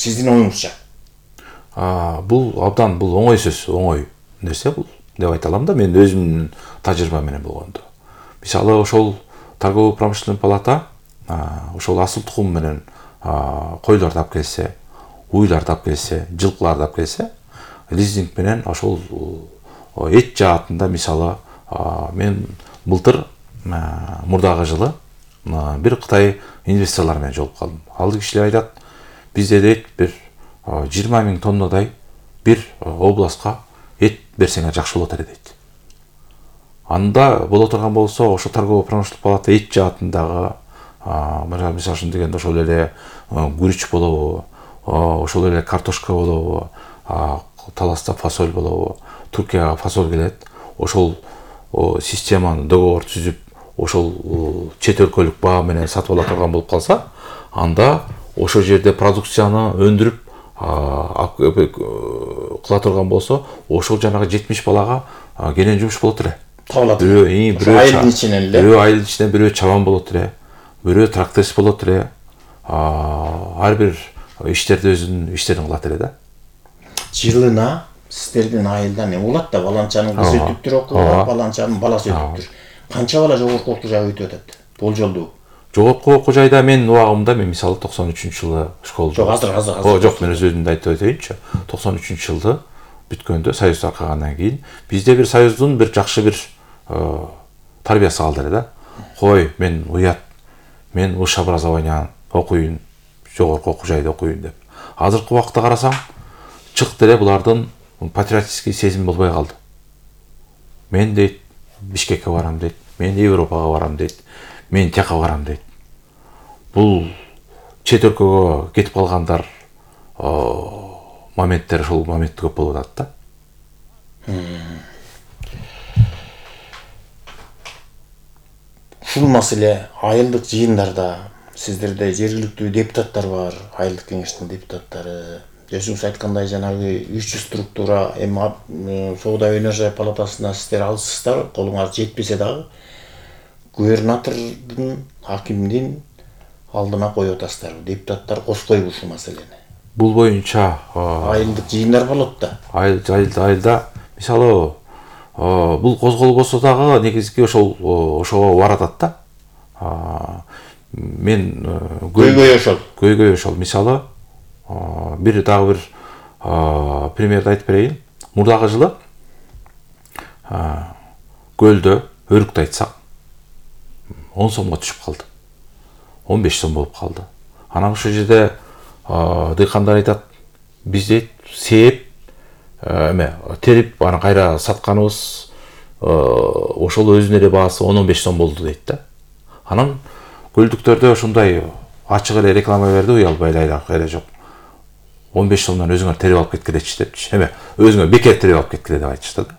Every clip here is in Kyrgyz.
Сиздин оюңузча? Бул абдан бул оңой сөз, оңой нерсе бул деп айта алам да, мен өзүмдүн тажрыйба менен болгондо. Мисалы ошол торгово-промышленный палата ошол асыл тукум менен койлорду алып келсе, уйларды алып келсе, жылкыларды алып келсе, лизинг менен ошол эт жаатында мисалы мен былтыр мурдагы жылы бир Кытай инвесторлор менен жолугуп калдым. Ал кишилер айтат, бизде дейт бир 20 000 тоннадай бир областка эт берсеңер жакшы болот эле дейт. Анда боло турган болсо, ошо торгово-промышленный палата эт жаатындагы мисалы үчүн дегенде ошол эле гүрүч болобу, ошол эле картошка болобу, Таласта фасоль болобу, Туркияга фасоль келет. Ошол системаны договор түзүп, ошол чет өлкөлүк баа менен сатып ала турган болуп калса, анда ошол жерде продукцияны өндүрүп кыла турган болсо, ошол жанагы 70 балага кенен жумуш болот эле. Табылат. Бирөө айылдын ичинен эле. Бирөө айылдын ичинен, бирөө чабан болот эле, бирөө тракторист болот эле. Ар бир иштерди өзүнүн иштерин кылат эле да. Жылына сиздердин айылдан эме болот да, баланчанын кызы өтүптүр окууга, баланчанын баласы өтүптүр. Канча бала жогорку окуу жайга өтүп атат? Болжолдуу. Жогорку окуу жайда мен убагымда мен мисалы 93-жылы школда. Жок, азыр. Жок, мен өзүмдү айтып өтөйүнчү. 93-жылы бүткөндө союз таркагандан кийин бизде бир союздун бир жакшы бир тарбиясы калды эле да. Кой, мен уят, мен высшее образование окуйын, жогорку окуу жайда окуйын деп. Азыркы убакытта карасаң, чыкты эле булардын патриотический сезим болбой калды. Мен дейт Бишкекке барам дейт, мен Европага барам дейт, мен тияка барам дейт. Бул чет өлкөгө кетип калгандар моменттер ошол момент көп болуп атат да. Ушул маселе айылдык жыйындарда сиздерде жергиликтүү депутаттар бар, айылдык кеңештин депутаттары. Өзүңүз айткандай жанагы 300 структура соода өнөр палатасына сиздер алсыздар, колуңар жетпесе дагы губернатордун, акимдин алдына коюп атасыздар. Депутаттар коскойбу ушул маселени. Бул боюнча айылдык жыйындар болот да. Айылда мисалы бул козголбосо дагы негизги ошого баратат да. Мен көйгөй ошол. Мисалы бир дагы бир примерди айтып берейин. Мурдагы жылы көлдө өрүктү айтсак 10 сомго түшүп калды. 15 сом болуп калды. Анан ошол жерде дыйкандар айтат, биз дейт сээп терип аны кайра сатканыбыз ошол өзүнүн эле баасы 10-15 сом болду дейт да. Анан көлдүктөрдө ошондой ачык эле реклама берди, уялбай эле жок. 15 сомдон өзүңөр терип алып кеткилечи депчи. Өзүңөр бекер терип алып кеткиле деп айтышты да.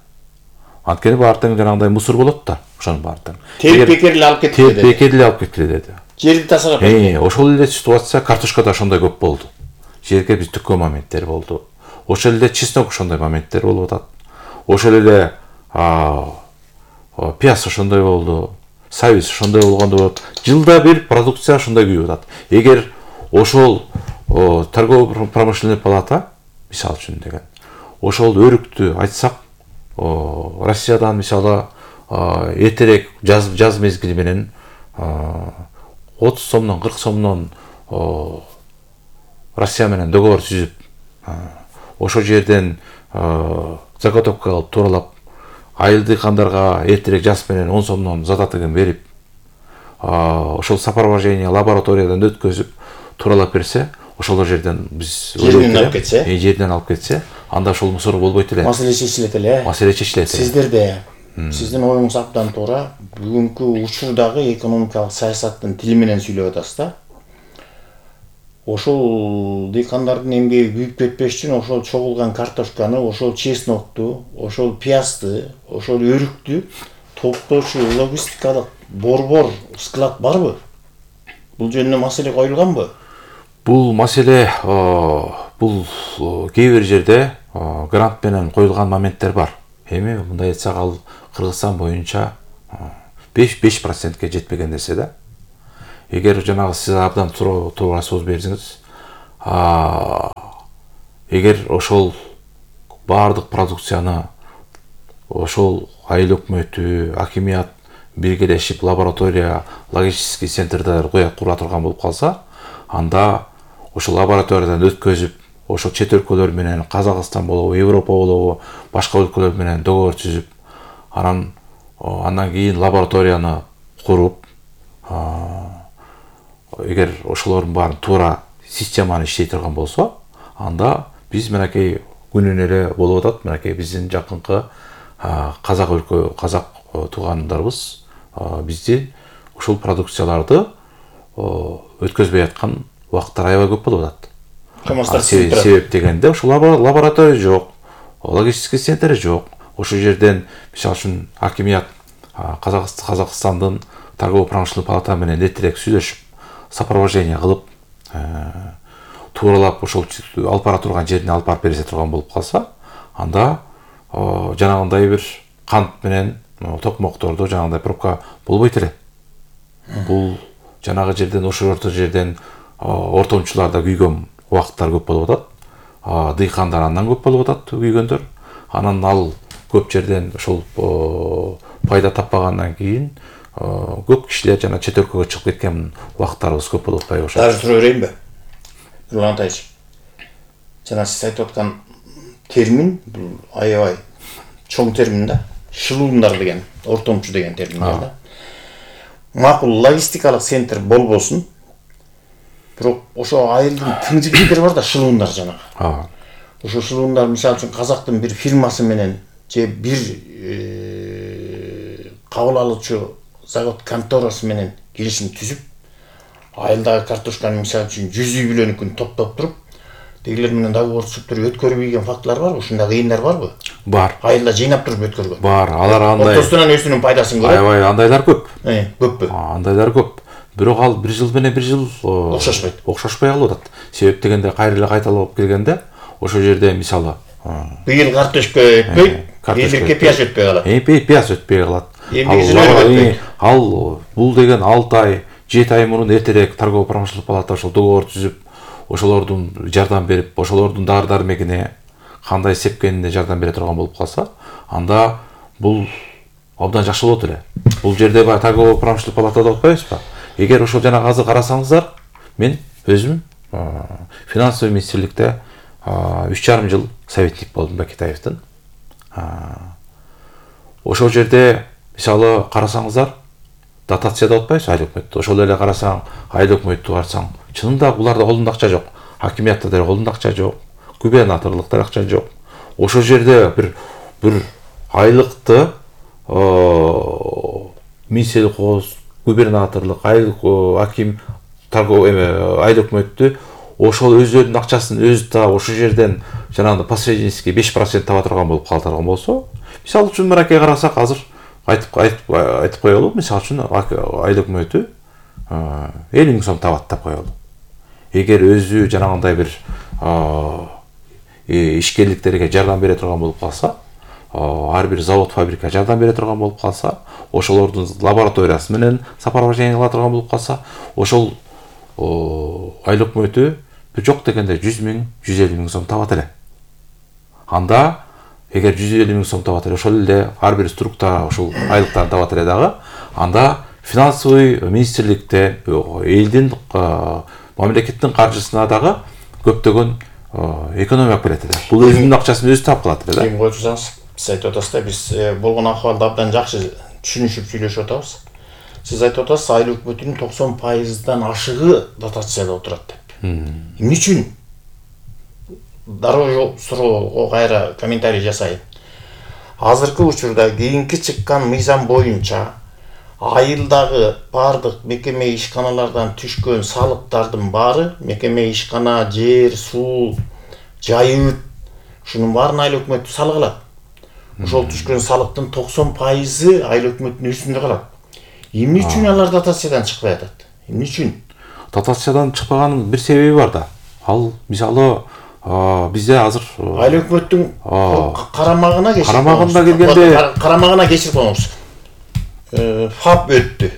Анткени баардыгы жанагындай мусор болот да, ошонун баардыгы. Терип бекер эле алып кеткиле деди. Бекер эле алып кеткиле деди. Жерди тасалап. Ошол эле ситуация картошкада ошондой көп болду. Жерге биз түккөн моменттер болду. Ошол эле чеснок ошондой моменттер болуп атат. Ошол эле пияз ошондой болду. Сабиз ошондой болгондо болот. Жылда бир продукция ошондой күйүп атат. Эгер ошол торгово-промышленный палата мисалы үчүн деген ошол өрүктү айтсак, Россиядан мисалы эртерээк жаз мезгили менен 30 сомдон 40 сомдон Россия менен договор түзүп, ошол жерден заготовка кылып тууралап, айылдыйкандарга эртерээк жаз менен 10 сомдон задатыгын берип, ошол сопровождение лабораториядан өткөзүп тууралап берсе, ошол жерден биз жерден алып кетсе, анда ошол мусор болбойт эле. Маселе чечилет эле. Маселе чечилет. Сиздерде сиздин оюңуз абдан туура. Бүгүнкү учурдагы экономикалык саясаттын тили менен сүйлөп атасыз да. Ошол дыйкандардын эмгеги күйүп кетпеш үчүн ошол чогулган картошканы, ошол чеснокту, ошол пиязды, ошол өрүктү топтоочу логистикалык борбор, склад барбы? Бул жөнүндө маселе коюлганбы? Бул маселе бул кээ бир жерде грант менен коюлган моменттер бар. Эми мындай айтсак, ал Кыргызстан боюнча 5% жетпеген нерсе да. Эгер жанагы сиз абдан туура сөз бердиңиз, эгер ошол баардык продукцияны ошол айыл өкмөтү, акимият биргелешип лаборатория, логистический центрлер кура турган болуп калса, анда ошол лабораториядан өткөзүп, ошол чет өлкөлөр менен, Казакстан болобу, Европа болобу, башка өлкөлөр менен договор түзүп, андан кийин лабораторияны куруп, эгер ошолордун баарын туура системаны иштей турган болсо, анда биз менекей күнүнө эле болуп атат, менекей биздин жакынкы казак туугандарыбыз бизди ушул продукцияларды өткөзбөй аткан убакыттар аябай көп болуп атат. Себеп дегенде ушул лаборатория жок, логистический центр жок. Ошол жерден мисалы үчүн акимият Казакстандын торгово-промышленный палата менен эртерээк сүйлөшүп, сопровождение кылып, тууралап ошол алып бара турган жерине алып барып бере турган болуп калса, анда жанагындай бир кант менен токмоктордо жанагындай пробка болбойт эле. Бул жанагы жерден, ошол жерден ортомчуларда күйгөн убакыттар көп болуп атат. Дыйкандар андан көп болуп атат күйгөндөр. Анан ал көп жерден ошол пайда таппагандан кийин көп кишилер жана чет өлкөгө чыгып кеткен убакыттарыбыз көп болуп атпайбы ошо. Дагы суроо берейинби? Нурлан Атайчы. Жана сиз айтып аткан термин бул аябай чоң термин да. Шылуундар деген, ортомчу деген терминдер да. Макул логистикалык центр болбосун. Бирок ошо айылдын тың жигиттери бар да, шылуундар жанагы. Ошо шылуундар мисалы үчүн Казактын бир фирмасы менен же бир кабыл алуучу завод конторасы менен келишим түзүп, айылдагы картошканы мисалы үчүн 100 үй бүлөнүкүн топтоп туруп, дегилер менен договор түзүп туруп өткөрбөйгөн фактылар барбы? Ушундай кыйындар барбы? Бар. Айылда жыйнап туруп өткөргөн. Бар. Алар андай. Ортосунан өзүнүн пайдасын көрөт. Аябай андайлар көп. Көппү? Андайлар көп. Бирок ал бир жыл менен бир жыл окшошпой калып атат. Себеп дегенде кайра эле кайталап келгенде, ошол жерде мисалы быйыл картошка өтпөйт, элдерке пияз өтпөй калат. Пияз өтпөй калат. Ал бул деген 6 ай, 7 ай мурун эртерээк торгово-промышленный палата ошол договор түзүп, ошолордун жардам берип, ошолордун дары-дармегине кандай сепкенине жардам бере турган болуп калса, анда бул абдан жакшы болот эле. Бул жерде торгово-промышленный палатада отпайбызбы? Эгер ошол жана азыр карасаңыздар, мен өзүм финансовый министрликте 3,5 жыл советник болдум Бакетаевдин. Ошол жерде мисалы карасаңыздар, дотацияда отпайбыз айыл өкмөттү. Ошол эле карасаң, айыл өкмөттү карасаң, чынында буларда колунда акча жок. Хакимиятта да колунда акча жок, губернаторлукта акча жок. Ошол жерде бир айлыкты министрлик, губернаторлук, айыл аким, айыл өкмөттү ошол өздөрүнүн акчасын өзү таап, ошол жерден жанагы посреднический 5% таба турган болуп калтырган болсо, мисалы үчүн мынакей карасак, азыр айтып коелу, мисалы үчүн айыл өкмөтү 50 000 сом табат деп коелу. Эгер өзү жанагындай бир ишкерликтерге жардам бере турган болуп калса, ар бир завод, фабрика жардам бере турган болуп калса, ошолордун лабораториясы менен сопровождение кыла турган болуп калса, ошол айыл өкмөтү жок дегенде 100 000, 150 000 сом табат эле. Анда эгер 150 000 сом табат эле, ошол эле ар бир структура ошол айлыктан табат эле дагы, анда финансовый министрликте элдин мамлекеттин каржысына дагы көптөгөн экономия берет эле. Бул өзүнүн акчасын өзү таап калат эле да. Ким койсоңуз, сиз айтып атасыз да, биз болгон акыбалды абдан жакшы түшүнүшүп сүйлөшүп атабыз. Сиз айтып атасыз, айыл өкмөтүнүн 90%дан ашыгы дотацияда отурат деп. Эмне үчүн? Дароо суроого кайра комментарий жасайын. Азыркы учурда кийинки чыккан мыйзам боюнча айылдагы бардык мекеме ишканалардан түшкөн салыктардын баары, мекеме ишкана, жер, суу, жайыт, ушунун баарын айыл өкмөтү салык алат. Ошол түшкөн салыктын 90% айыл өкмөтүнүн үстүндө калат. Эмне үчүн алар дотациядан чыкпай атат? Эмне үчүн? Дотациядан чыкпаганын бир себеби бар да. Ал мисалы бизде азыр айыл өкмөттүн карамагына кечирип коңуз. ФАП өттү.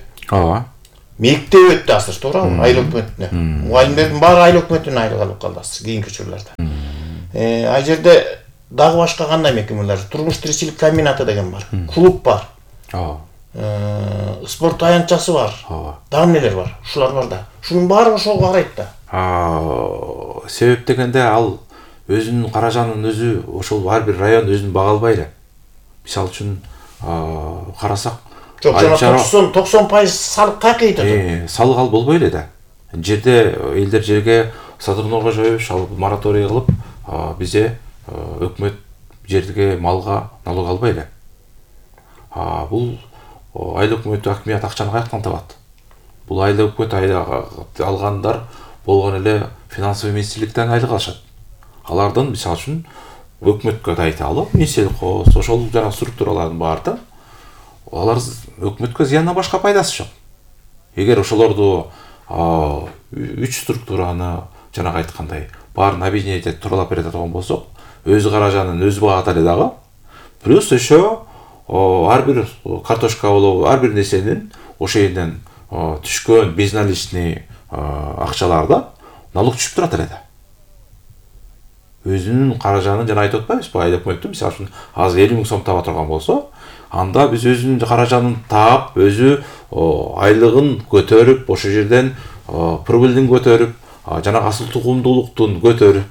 Мектеп өттү азыр, туурабы? Айыл өкмөтүнө. Мугалимдердин баары айыл өкмөтүнүн айылы калып калды азыр кийинки учурларда. Ал жерде дагы башка кандай мекемелер? Турмуш тиричилик комбинаты деген бар. Клуб бар. Спорт аянтчасы бар. Дагы нелер бар? Ушулар бар да. Шунун баары ошого карайт да. Себеп дегенде ал өзүнүн каражанын өзү ошол ар бир район өзүн бага албай эле. Мисалы үчүн карасак, жок, 90% салык кайка кетет. Салык ал болбой эле да. Жерде элдер жерге Садырнурга жоюш, ал мораторий кылып, бизде өкмөт жерге малга налог албай эле. Бул айыл өкмөтү акмият акчаны каяктан табат? Бул айыл өкмөт алгандар болгон эле финансовый министрликтен айлык алышат. Алардан мисалы үчүн өкмөткө да айта алып, Минселхоз, ошол жана структуралардын баары алар өкмөткө зыяндан башка пайдасы жок. Эгер ошолорду 3 структураны жанагы айткандай баарын объединять этип туралап бере турган болсок, өз каражанын өз багат эле дагы. Плюс еще ар бир картошка болобу, ар бир нерсенин ошол жерден түшкөн безналичный акчаларда налог түшүп турат эле да. Өзүнүн каражанын жана айтып атпайбызбы, айыл өкмөттү мисалы үчүн азыр 50 000 сом таба турган болсо, анда биз өзүнүн каражанын таап, өзү айлыгын көтөрүп, ошол жерден прибылдин көтөрүп, жана асыл тугумдуулуктун көтөрүп,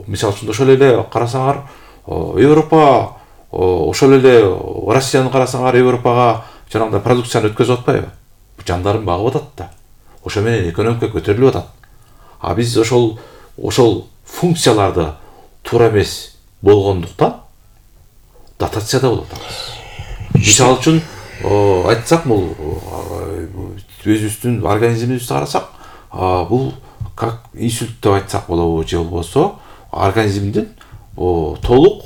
мисалы үчүн ошол эле карасаңар, Европа, ошол эле Россияны карасаңар, Европага жанагындай продукцияны өткөзүп атпайбы? Жандарын багып атат да. Ошо менен экономика көтөрүлүп атат. Биз ошол функцияларды туура эмес болгондуктан дотацияда болуп атабыз. Мисалы үчүн айтсак, бул өзүбүздүн организмибизди карасак, бул как инсульт деп айтсак болобу, же болбосо организмдин толук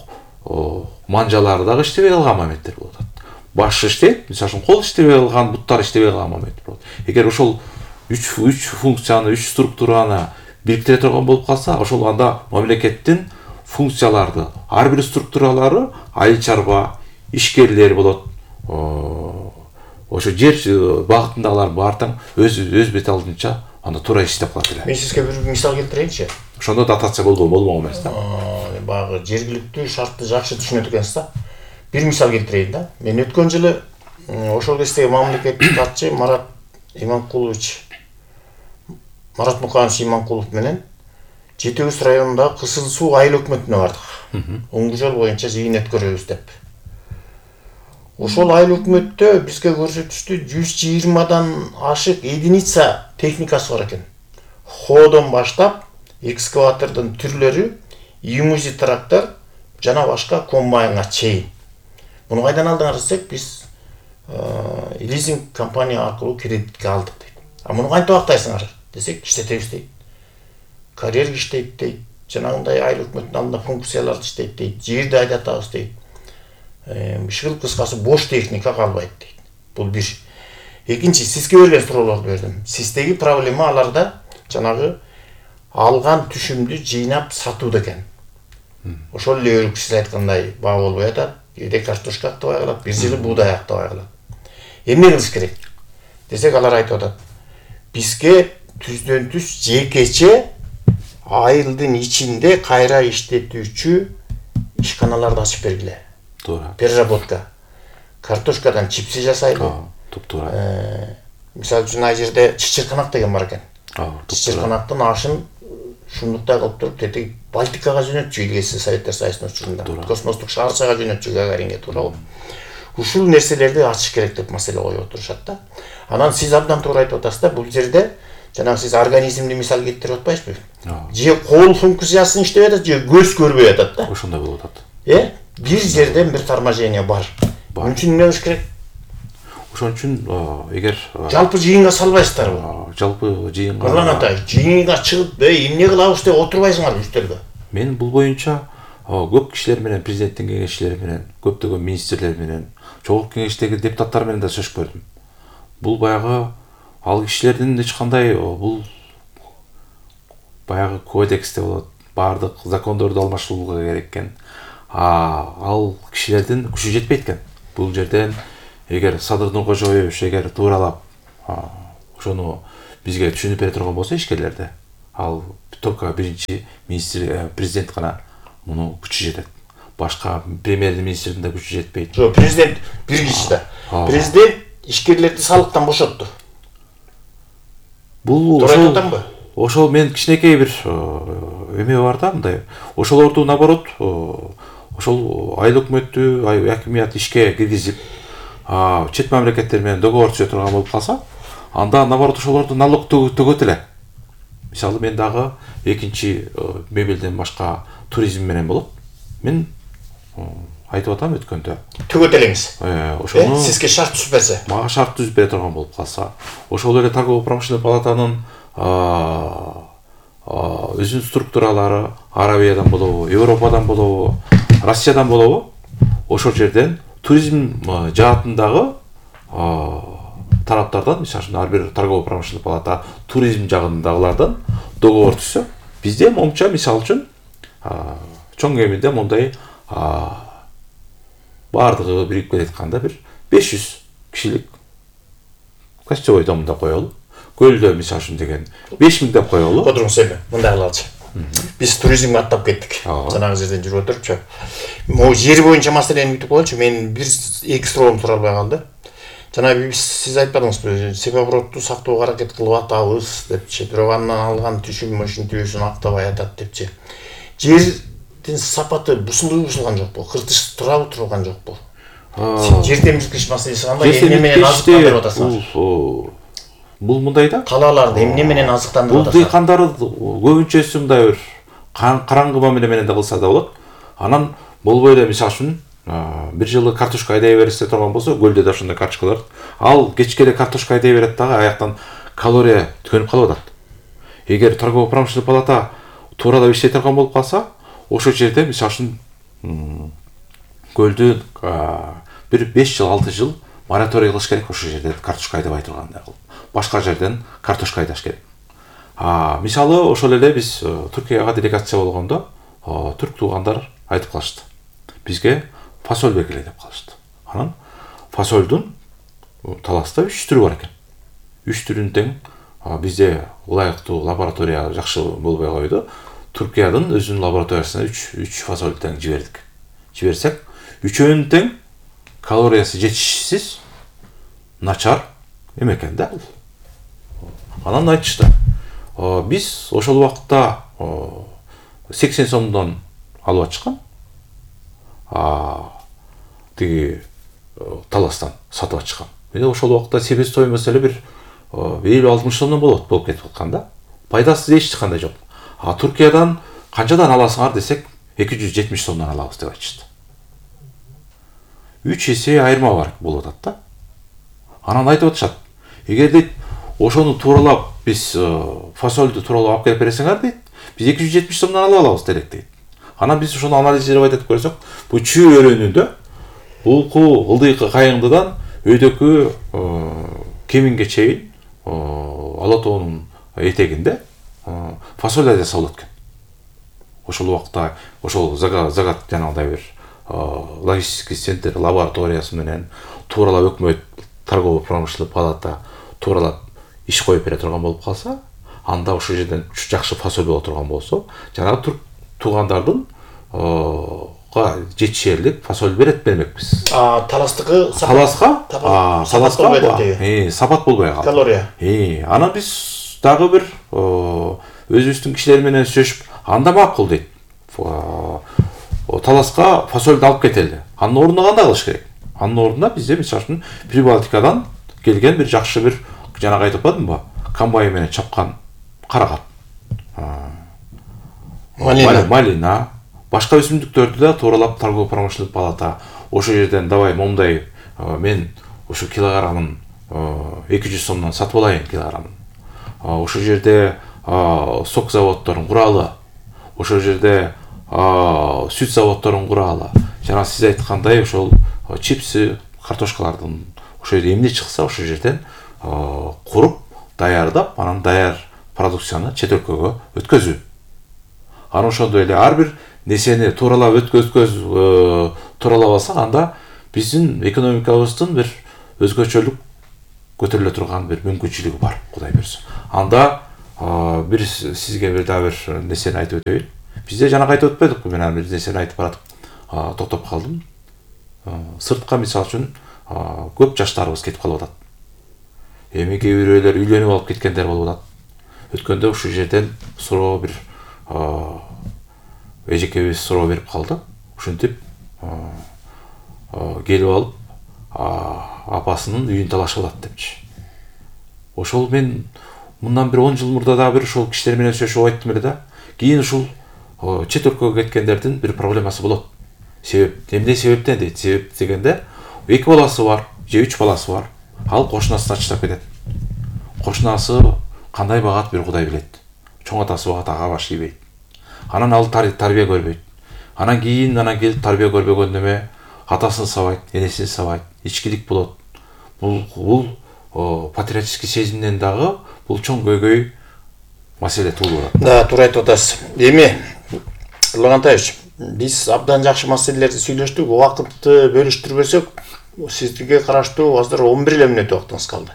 манжалары дагы иштебей калган моменттер болуп атат. Баш иштейт, мисалы үчүн кол иштебей калган, буттар иштебей калган моменттер болот. Эгер ошол 3 функцияны, 3 структураны бириктире турган болуп калса, ошол анда мамлекеттин функцияларды, ар бир структуралары айыл чарба, ишкерлер болот. Ошо жер багытындагылар баартаң өз бет алдынча анда туура иштеп калат эле. Мен сизге бир мисал келтирейинчи. Ошондо дотация болмок эмес да. Багы жергиликтүү шартты жакшы түшүнөт экенсиз да. Бир мисал келтирейин да. Мен өткөн жылы ошол кездеги мамлекеттик катчы Марат Муканович Иманкулов менен Жети Көз районундагы Кызыл Суу айыл өкмөтүнө бардык. Оңгу жол боюнча жыйын өткөрөбүз деп. Ошол айыл өкмөттө бизге көрсөтүштү 120дан ашык единица техникасы бар экен. Ходон баштап, экскаватордун түрлөрү, имузи трактор жана башка комбайнга чейин. Муну кайдан алдыңар десек, биз лизинг компания аркылуу кредитке алдык дейт. Муну кантип актайсыңар десек, иштетебиз дейт. Карьер иштейт дейт. Жанагындай айыл өкмөттүнүн алдында функцияларды иштейт дейт. Жерди айдатабыз дейт. Бишкыл кыскасы бош техника калбайт дейт. Бул бир. Экинчи, сизге берген суроолорду бердим. Сиздеги проблема аларда жанагы алган түшүмдү жыйнап сатуу экен. Ошол эле өрүк сиз айткандай баа болбой атат. Кээде картошка актабай калат, бир жылы буудай актабай калат. Эмне кылыш керек десек, алар айтып атат. Бизге түздөн түз жекече айылдын ичинде кайра иштетүүчү ишканаларды ачып бергиле. Туура. Переработка. Картошкадан чипси жасайлы. Туп-туура. Мисалы үчүн ал жерде чычырканак деген бар экен. Чычырканактын ашын шундуктай кылып туруп, тетиги Балтикага жөнөтчү, илгеси Советтер Союзунун учурунда. Космостук шаарчага жөнөтчү, Гагаринге туурабы. Ушул нерселерди ачыш керек деп маселе коюп отурушат да. Анан сиз абдан туура айтып атасыз да, бул жерде жанагы сиз организмди мисал келтирип атпайсызбы? Же кол функциясын иштебей атат, же көз көрбөй атат да. Ошондой болуп атат. Бир жерден бир тармажение бар. Мун үчүн эмне кылыш керек? Ошон үчүн эгер жалпы жыйынга салбайсыздарбы? Жалпы жыйынга. Нурлан атай, жыйынга чыгып, эмне кылабыз деп отурбайсыңарбы үстөлгө? Мен бул боюнча көп кишилер менен, президенттин кеңешчилери менен, көптөгөн министрлер менен, чогуу кеңештеги депутаттар менен да сөзүп көрдүм. Бул баягы ал кишилердин эч кандай бул баягы кодексте болот, баардык закондорду алмаштырууга керек экен. Ал кишилердин күчү жетпейт экен. Бул жерден эгер Садыр Нуркожоевич эгер тууралап ошону бизге түшүнүп бере турган болсо ишкерлерди, ал только биринчи министр президент гана муну күчү жетет. Башка премьер-министрдин да күчү жетпейт. Жок, президент бир киши да. Президент ишкерлерди салыктан бошотту. Бул ошол мен кичинекей бир эме бар да, мындай. Ошолорду наоборот, ошол айыл өкмөттү, акимият ишке киргизип, чет мамлекеттер менен договор түзө турган болуп калса, анда наоборот ошолорду налог төгөт эле. Мисалы мен дагы экинчи мебелден башка туризм менен болот. Мен айтып атам өткөндө. Төгөт элеңиз. Ошону сизге шарт түзбөсө. Мага шарт түзүп бере турган болуп калса, ошол эле торгово-промышленный палатанын өзүнүн структуралары Аравиядан болобу, Европадан болобу, Россиядан болобу, ошол жерден туризм жаатындагы тараптардан, мисалы ар бир торгово-промышленный палата туризм жагындагылардан договор түзсө, бизде момча мисалы үчүн чоң кеминде мондай бардыгы бирип келатканда бир 500 кишилик гостевой домдо коелу. Көлдө мисалы үчүн деген 5000 деп коелу. Отуруңуз эми мындай кылалычы. Биз туризмге аттап кеттик. Жанагы жерден жүрүп отурупчу. Могу жер боюнча маселени бүтүп коелучу. Мен бир эки суроом тура албай калды. Жанагы сиз айтпадыңызбы, себебродду сактоого аракет кылып атабыз депчи. Бирок андан алган түшүм ушинтүүсүн актабай атат депчи. Жердин сапаты бузулган жокпу? Кыртыш турабы турган жокпу? Жер темирткич маселеси кандай? Эмне менен азыктандырып атасыңар? Бул мындай да. Калааларды эмне менен азыктандырып атасыңар? Бул дыйкандар көбүнчөсү мындай бир караңгы мамиле менен да кылса да болот. Анан болбой эле мисалы үчүн бир жылы картошка айдай берсе турган болсо, көлдө да ошондой картошкалар. Ал кечке эле картошка айдай берет дагы, аяктан калория төнүп калып атат. Эгер торгово-промышленный палата тууралап иштей турган болуп калса, ошол жерде мисалы үчүн көлдү бир 5 жыл, 6 жыл мораторий кылыш керек, ошол жерде картошка айдабай тургандай кылып. Башка жерден картошка айдаш керек. Мисалы ошол эле биз Түркияга делегация болгондо, түрк туугандар айтып калышты. Бизге фасоль бергиле деп калышты. Анан фасольдун таласта 3 түрү бар экен. 3 түрүн тең бизде ылайыктуу лаборатория жакшы болбой койду. Түркиянын өзүнүн лабораториясына 3 фасоль тең жибердик. Жиберсек, үчөөнүн тең калориясы жетишсиз, начар эме экен да. Анан айтышты. Биз ошол убакта 80 сомдон алып ачкан. Тиги таластан сатып ачкан. Мен ошол убакта себестоимость эле бир 50-60 сомдон болуп кетип атканда. Пайдасы эч кандай жок. Түркиядан канчадан аласыңар десек, 270 сомдон алабыз деп айтышты. 3 эсе айырма бар болуп атат да. Анан айтып атышат. Эгер дейт, ошону тууралап биз фасольду тууралап алып келип бересиңер дейт, биз 270 сомдон ала алабыз делек дейт. Анан биз ошону анализдеп айтып көрсөк, бул чүй өрөөнүндө булку ылдыйкы кайыңдыдан өйдөкү кеминге чейин Ала тоонун этегинде фасоль айдаса болот экен. Ошол убакта ошол загат жанагындай бир логистический центр лабораториясы менен тууралап өкмөт торгово-промышленный палата тууралап иш коюп бере турган болуп калса, анда ошол жерден жакшы фасоль боло турган болсо, жанагы түрк туугандардын жетишерлик фасоль бермекпиз. Таластыкы таласка сапат болбой калды. Калория. Анан биз дагы бир өзүбүздүн кишилер менен сүйлөшүп, анда макул дейт. Таласка фасольду алып кетели. Анын ордуна кандай кылыш керек? Анын ордуна бизде мисалы үчүн Прибалтикадан келген бир жакшы бир жанагы айтып атпадымбы? Комбайн менен чапкан карагат. Малина, башка өсүмдүктөрдү да тууралап торгово-промышленный палата ошол жерден давай момдай мен ошо килограммын 200 сомдон сатып алайын килограммын. Ошол жерде сок заводдорун куралы, ошол жерде сүт заводдорун куралы. Жана сиз айткандай ошол чипсы, картошкалардын ошол жерде эмне чыкса ошол жерден куруп, даярдап, анан даяр продукцияны чет өлкөгө өткөзүү. Анан ошондой эле ар бир несени тууралап тууралап алсак, анда биздин экономикабыздын бир өзгөчөлүк көтөрүлө турган бир мүмкүнчүлүгү бар, Кудай буйрса. Анда бир сизге бир дагы бир нерсени айтып өтөйүн. Бизде жанагы айтып өтпөдүкпү, мен бир нерсени айтып баратып токтоп калдым. Сыртка мисалы үчүн көп жаштарыбыз кетип калып атат. Эми кээ бирөөлөр үйлөнүп алып кеткендер болуп атат. Өткөндө ушул жерден суроо бир эжекебиз суроо берип калды. Ушинтип келип алып апасынын үйүн талашып алат депчи. Ошол мен мындан бир 10 жыл мурда дагы бир ошол кишилер менен сүйлөшүп айттым эле да. Кийин ушул чет өлкөгө кеткендердин бир проблемасы болот. Себеп эмне себептен дейт? Себеп дегенде 2 баласы бар, же 3 баласы бар. Ал кошунасына чыдап кетет. Кошунасы кандай багат бир Кудай билет. Чоң атасы багат, ага баш ийбейт. Анан ал тарбия көрбөйт. Анан келип тарбия көрбөгөн неме атасын сабайт, энесин сабайт, ичкилик болот. Бул патриотический сезимден дагы бул чоң көйгөй маселе туулуп атат. Да, туура айтып атасыз. Эми Лагантаевич, биз абдан жакшы маселелерди сүйлөштүк. Убакытты бөлүштүрбөсөк, сизге караштуу азыр 11 мүнөт убактыңыз калды.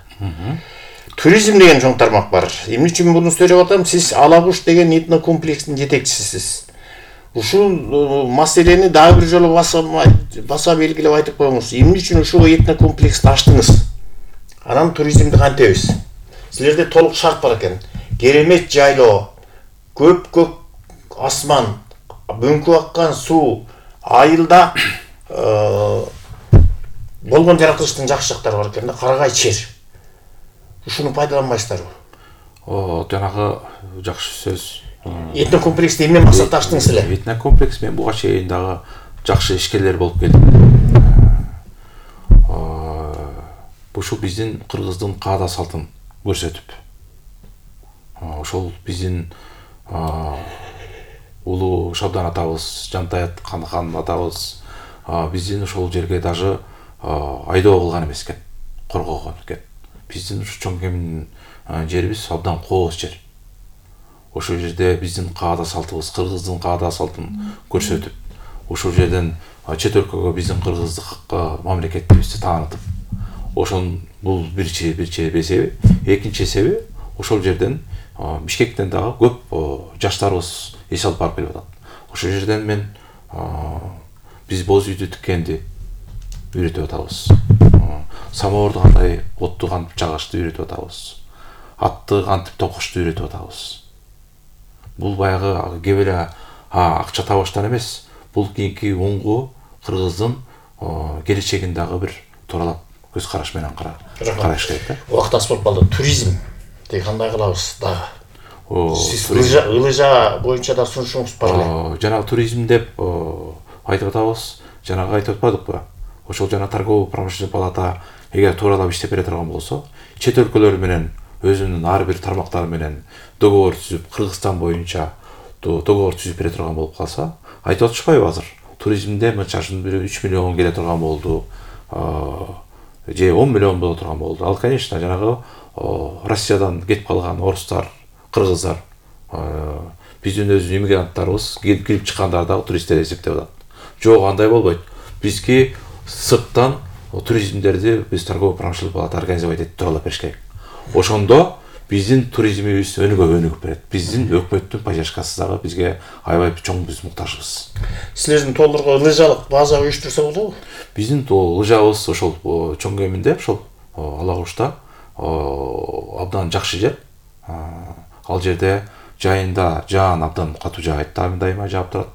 Туризм деген чоң тармак бар. Эмне үчүн муну сөйлөп атам? Сиз Ала Куш деген этнокомплекстин жетекчисисиз. Ушул маселени дагы бир жолу баса белгилеп айтып коюңуз. Эмне үчүн ушул этнокомплексти ачтыңыз? Анан туризмди кантебиз? Силерде толук шарт бар экен. Керемет жайлоо, көк асман, бөңкү аккан суу, айылда болгон жаратылыштын жакшы жактары бар экен да, карагай чер. Ушуну пайдаланбайсыздарбы? Жанагы жакшы сөз. Этнокомплексти эмне максатта ачтыңыз эле? Этнокомплекс мен буга чейин дагы жакшы ишкерлер болуп келдим. Ушул биздин кыргыздын каада салтын көрсөтүп, ошол биздин улуу Шабдан атабыз, Жантаят хан атабыз биздин ошол жерге даже айдоо кылган эмес экен, коргогон экен. Биздин ушу чоң кемин жерибиз абдан кооз жер. Ошол жерде биздин каада салтыбыз, кыргыздын каада салтын көрсөтүп, ошол жерден чет өлкөгө биздин кыргыздык мамлекеттибизди таанытып, ошон бул бир эсеби. Экинчи эсеби, ошол жерден Бишкектен дагы көп жаштарыбыз эс алып барып келип атат. Ошол жерден мен биз боз үйдү тиккенди үйрөтүп атабыз. Самоорду кандай отту кантип жагышты үйрөтүп атабыз. Атты кантип токушту үйрөтүп атабыз. Бул баягы кеп эле акча табыштан эмес, бул кийинки уңгу кыргыздын келечегин дагы бир тууралап көз караш менен караш керек да. Убакыт аз болуп калды. Туризм кандай кылабыз дагы? Сиз ылыжа боюнча да сунушуңуз бар эле. Жанагы туризм деп айтып атабыз. Жанагы айтып атпадыкпы? Ошол жана торгово-промышленный палата эгер тууралап иштеп бере турган болсо, чет өлкөлөр менен өзүнүн ар бир тармактары менен договор түзүп, Кыргызстан боюнча договор түзүп бере турган болуп калса, айтып атышпайбы азыр? Туризмде мынчасын 3 миллион келе турган болду, же 10 миллион боло турган болду. Ал, конечно, жанагы Россиядан кетип калган орустар, кыргыздар, биздин өзүнүн иммигранттарыбыз келип чыккандар дагы туристтер эсептеп атат. Жок, андай болбойт. Бизге сырттан туризмдерди биз торгово-промышленный палата организовать этип туралап бериш керек. Ошондо биздин туризмибиз өнүгүп берет. Биздин өкмөттүн поддержкасы дагы бизге аябай чоң биз муктажбыз. Силердин толурга лыжалык база уюштурса болобу? Биздин лыжабыз ошол чоң кеминде ошол Ала Кушта абдан жакшы жер. Ал жерде жайында жаан абдан катуу жаайт, дайыма жаап турат.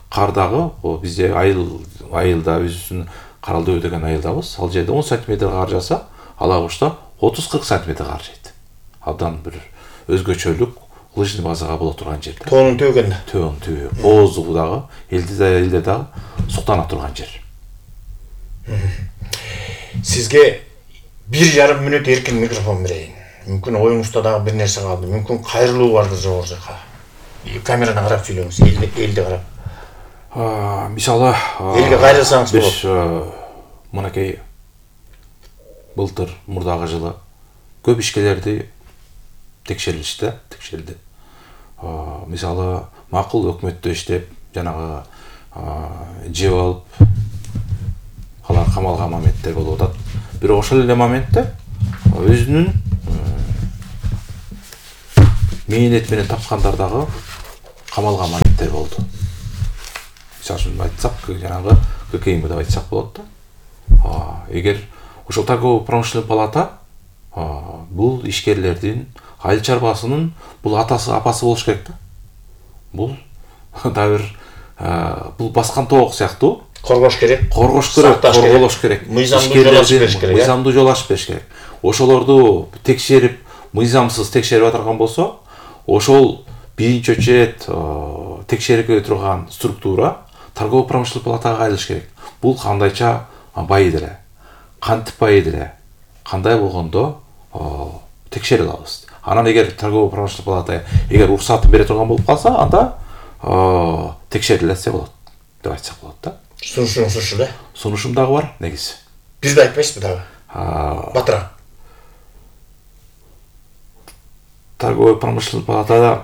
Кар дагы бизде айылда өзүбүздүн Каралдөө деген айылдабыз. Ал жерде 10 см кар жаса, Ала Кушта 30-40 см кар жайт. Абдан бир өзгөчөлүк лыжный базага боло турган жер. Тоонун төбөгөндө. Төөнүн түбү. Ооздугу дагы, элде дагы суктана турган жер. Сизге 1,5 мүнөт эркин микрофон берейин. Мүмкүн оюңузда дагы бир нерсе калды. Мүмкүн кайрылуу бардыр жогору жака. Камераны карап сүйлөңүз, элди карап. Мисалы, элге кайрылсаңыз болот. Биз мынакей былтыр мурдагы жылы көп ишкерлерди текшерилди. Мисалы, макул өкмөттө иштеп, жанагы жеп алып алар камалган моменттер болуп атат. Бирок ошол эле моментте өзүнүн мээнет менен тапкандар дагы камалган моменттер болду. Мисалы үчүн айтсак, жанагы ККМ деп айтсак болот да. Эгер ошол торгово-промышленный палата бул ишкерлердин, айыл чарбасынын бул атасы, апасы болуш керек да. Бул дагы бир бул баскан тоок сыяктуу коргош керек, корголош керек. Мыйзамдуу жол ачып бериш керек. Мыйзамдуу жол ачып бериш керек. Ошолорду текшерип, мыйзамсыз текшерип аткан болсо, ошол биринчи очередь текшерүүгө турган структура торгово-промышленный палатага кайрылыш керек. Бул кандайча байыды эле, кантип байыды эле, кандай болгондо текшере алабыз. Анан эгер торгово-промышленный палата эгер уруксатын бере турган болуп калса, анда текшерилсе болот деп айтсак болот да. Сунушуңуз ушу да? Сунушум дагы бар, негизи. Бизде айтпайсызбы дагы? Батыра. Торгово-промышленный палатада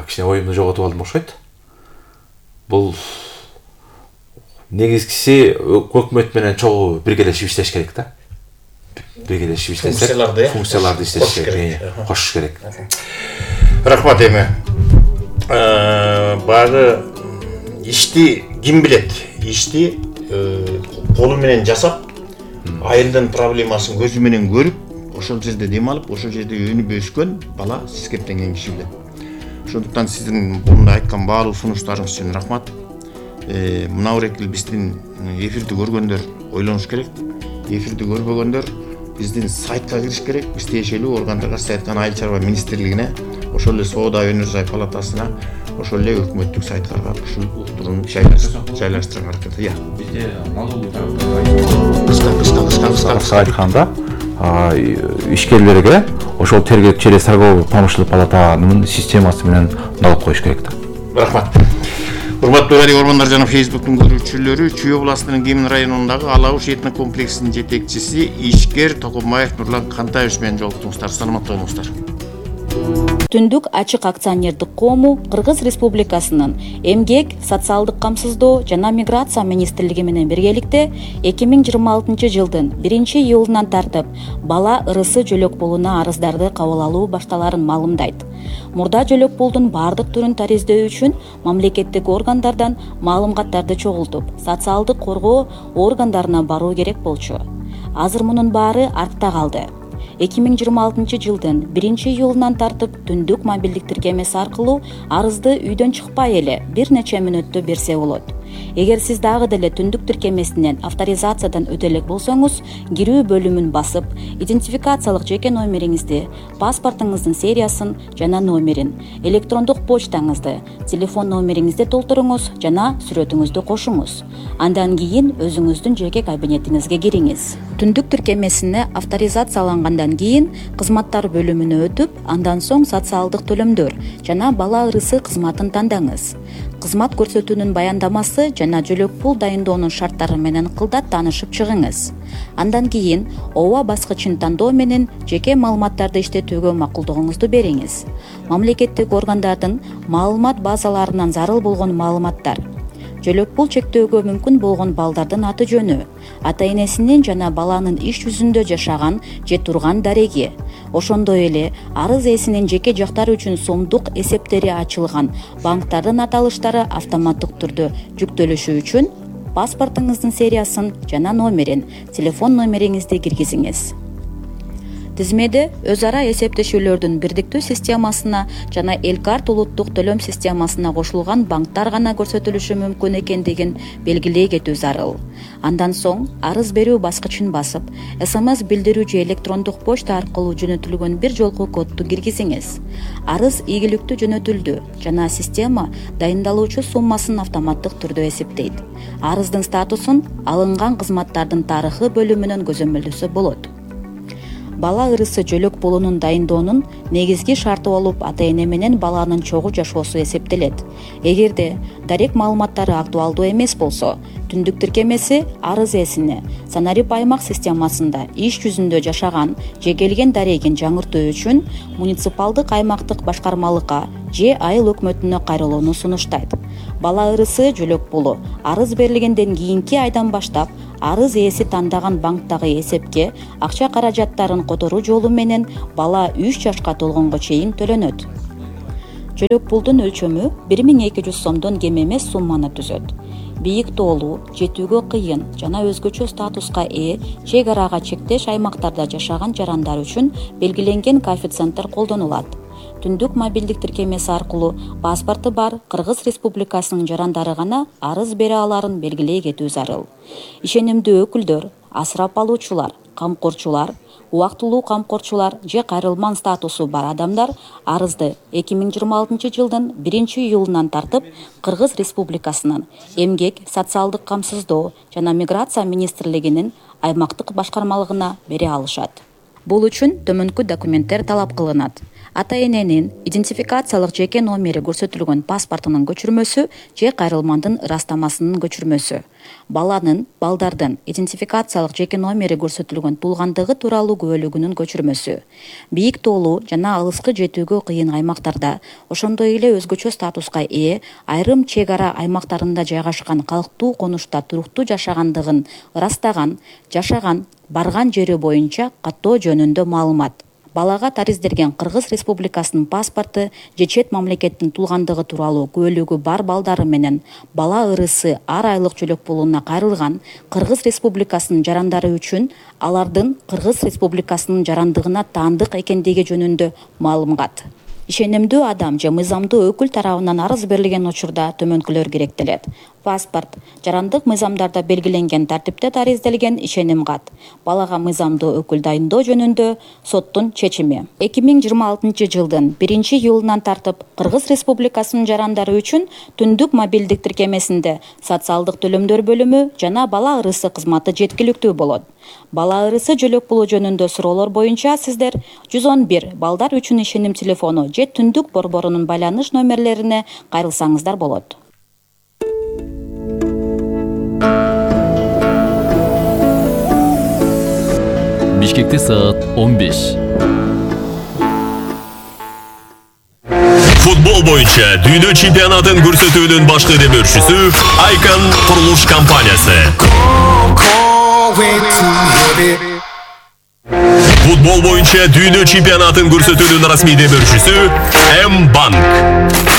кичине оюмду жоготуп алдым окшойт. Бул негизгиси өкмөт менен чогуу биргелешип иштеш керек да. Биргелешип иштесек, функцияларды иштеш керек, кошуш керек. Рахмат эми. Багы ишти ким билет? Ишти колу менен жасап, айылдын проблемасын көзү менен көрүп, ошол жерде дем алып, ошол жерде өнүп өскөн бала сиз кептенген киши билет. Ошондуктан сиздин мурда айткан баалуу сунуштарыңыз үчүн рахмат. Мына эркел биздин эфирди көргөндөр ойлонуш керек. Эфирди көрбөгөндөр биздин сайтка кириш керек. Биз тиешелүү органдарга, сиз айткан айыл чарба министрлигине, ошол эле соода өнөр жай палатасына, ошол эле өкмөттүк сайттарга ушул уктурууну жайлаштырганга аракет. Бизде налоговый кыска айтканда ишкерлерге ошол тергеп через торгово-промышленный палатанын системасы менен налог коюш керек да. Рахмат. Урматтуу радио Ормондар жана Фейсбуктун көрүүчүлөрү, Чүй областынын Кемин районундагы Алабуш этно комплексинин жетекчиси ишкер Токомбаев Нурлан Кантаевич менен жолуктуңуздар. Саламатта болуңуздар. Түндүк ачык акционердик коому Кыргыз Республикасынын Эмгек, социалдык камсыздоо жана миграция министрлиги менен биргеликте 2026 жылдын 1-июлунан тартып бала ырысы жөлөк пулуна арыздарды кабыл алуу башталарын маалымдайт. Мурда жөлөк пулдун бардык түрүн тариздөө үчүн мамлекеттик органдардан маалыматтарды чогултуп, социалдык коргоо органдарына баруу керек болчу. Азыр мунун баары артта калды. 2026 жылдын 1-июлунан тартып түндүк мобилдик тиркемеси аркылуу арызды үйдөн чыкпай эле бир нече мүнөттө берсе болот. Эгер сиз дагы деле түндүк тиркемесинен авторизациядан өтө элек болсоңуз, кирүү бөлүмүн басып, идентификациялык жеке номериңизди, паспортуңуздун сериясын жана номерин, электрондук почтаңызды, телефон номериңизди толтуруңуз жана сүрөтүңүздү кошуңуз. Андан кийин өзүңүздүн жеке кабинетиңизге кириңиз. Түндүк тиркемесине авторизациялангандан кийин кызматтар бөлүмүнө өтүп, андан соң социалдык төлөмдөр жана бала ырысы кызматын тандаңыз. Кызмат көрсөтүүнүн баяндамасы жана жөлөк пул дайындоонун шарттары менен кылдат таанышып чыгыңыз. Андан кийин ооба баскычын тандоо менен жеке маалыматтарды иштетүүгө макулдугуңузду бериңиз. Мамлекеттик органдардын маалымат базаларынан зарыл болгон маалыматтар, жөлөк пул чектөөгө мүмкүн болгон балдардын аты жөнү, ата энесинин жана баланын иш жүзүндө жашаган же турган дареги, ошондой эле арыз ээсинин жеке жактары үчүн сомдук эсептери ачылган банктардын аталыштары автоматтык түрдө жүктөлүшү үчүн паспортуңуздун сериясын жана номерин, телефон номериңизди киргизиңиз. Тизмеде өз ара эсептешүүлөрдүн бирдиктүү системасына жана Элкарт улуттук төлөм системасына кошулган банктар гана көрсөтүлүшү мүмкүн экендигин белгилей кетүү зарыл. Андан соң арыз берүү баскычын басып, СМС билдирүү же электрондук почта аркылуу жөнөтүлгөн бир жолку кодду киргизиңиз. Арыз ийгиликтүү жөнөтүлдү жана система дайындалуучу суммасын автоматтык түрдө эсептейт. Арыздын статусун алынган кызматтардын тарыхы бөлүмүнөн көзөмөлдөсө болот. Бала ырысы жөлөк пулунун дайындоонун негизги шарты болуп ата эне менен баланын чогуу жашоосу эсептелет. Эгерде дарек маалыматтары актуалдуу эмес болсо, түндүк тиркемеси арыз ээсине Санарип аймак системасында иш жүзүндө жашаган же келген дарегин жаңыртуу үчүн муниципалдык аймактык башкармалыкка же айыл өкмөтүнө кайрылууну сунуштайт. Бала ырысы жөлөк пулу арыз берилгенден кийинки айдан баштап арыз ээси тандаган банктагы эсепке акча каражаттарын которуу жолу менен бала 3 жашка толгонго чейин төлөнөт. Жөлөк пулдун өлчөмү 1200 сомдон кем эмес сумманы түзөт. Бийик тоолуу, жетүүгө кыйын жана өзгөчө статуска ээ чек арага чектеш аймактарда жашаган жарандар үчүн белгиленген коэффициенттер колдонулат. Түндүк мобилдик тиркемеси аркылуу паспортту бар Кыргыз Республикасынын жарандары гана арыз бере аларын белгилей кетүү зарыл. Ишенимдүү өкүлдөр, асырап алуучулар, камкорчулар, убактылуу камкорчулар же кайрылман статусу бар адамдар арызды 2026 жылдын 1-июлунан тартып Кыргыз Республикасынын Эмгек, социалдык камсыздоо жана миграция министрлигинин аймактык башкармалыгына бере алышат. Бул үчүн төмөнкү документтер талап кылынат. Ата-эненин идентификациялык жеке номери көрсөтүлгөн паспортунун көчүрмөсү же кайрылмандын ырастамасынын көчүрмөсү. Балдардын идентификациялык жеке номери көрсөтүлгөн туулгандыгы тууралуу күбөлүгүнүн көчүрмөсү. Бийик тоолуу жана алыскы жетүүгө кыйын аймактарда, ошондой эле өзгөчө статуска ээ айрым чек ара аймактарында жайгашкан калктуу конушта туруктуу жашагандыгын ырастаган, жашаган, барган жери боюнча каттоо жөнүндө маалымат. Балага тариздерген Кыргыз Республикасынын паспорту же чет мамлекеттин туулгандыгы тууралуу күбөлүгү бар балдары менен бала ырысы ар айлык жөлөк пулуна кайрылган Кыргыз Республикасынын жарандары үчүн алардын Кыргыз Республикасынын жарандыгына таандык экендиги жөнүндө маалымат. Ишенимдүү адам же мыйзамдуу өкүл тарабынан арыз берилген учурда төмөнкүлөр керектелет. Паспорт, жарандык мыйзамдарда белгиленген тартипте таризделген ишеним кат. Балага мыйзамдуу өкүл дайындоо жөнүндө соттун чечими. 2026 жылдын 1-июлунан тартып Кыргыз Республикасынын жарандары үчүн түндүк мобилдик тиркемесинде социалдык төлөмдөр бөлүмү жана бала ырысы кызматы жеткиликтүү болот. Бала ырысы жөлөк пулу жөнүндө суроолор боюнча сиздер 111 балдар үчүн ишеним телефону же түндүк борборунун байланыш номерлерине кайрылсаңыздар болот. Бишкекте саат 15. Футбол боюнча дүйнө чемпионатын көрсөтүүнүн башкы демөөрчүсү Icon курулуш компаниясы. Футбол боюнча дүйнө чемпионатын көрсөтүүнүн расмий демөөрчүсү M-Bank.